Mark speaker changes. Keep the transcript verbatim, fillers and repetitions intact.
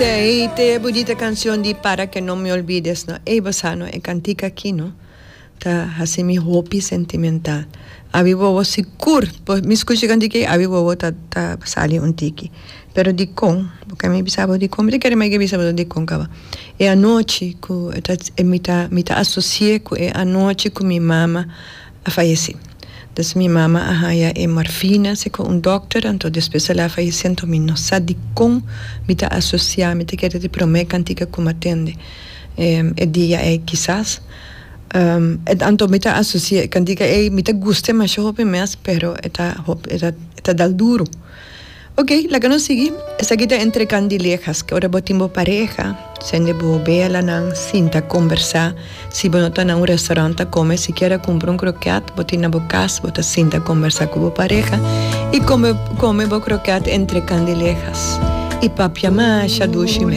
Speaker 1: Ei, te bunita cancion di "Para que no me olvides", no? Ei, bo sa, no, e cantica aki, no? Ta haci mi hopi sentimental. Abi bobo sigur, mi scucha cantica, abi bobo ta ta sali un tiki. Pero di con, porque mi bisa bo di con, mi kere mai bisa bo di con caba. E anochi cu ta mi ta mi ta asocia cu e anochi cu mi mama a fayece. Dus mi mama a haya e morfina cu un dokter, anto despues el a fayece, anto mi no sa di con mi ta asocia, mi ta kere di prome cantica cu m'a tende. E, e dia e kisas. Um, anto mi ta asocia cantica e mi ta gusta masha hopi mes, pero e ta e ta e ta dal duro. Ok, laga nos sigui. Esaki ta "Entre Candilejas", cu ora bo tin bo pareha, cende bo bela nan, sinta conversa. Si bo no ta na un restaurant come, sikiera cumpra un kroket, bo tin na bo cas, bo ta sinta conversa cu bo pareha y come come bo kroket entre candilejas. Y papia masha dushi mes.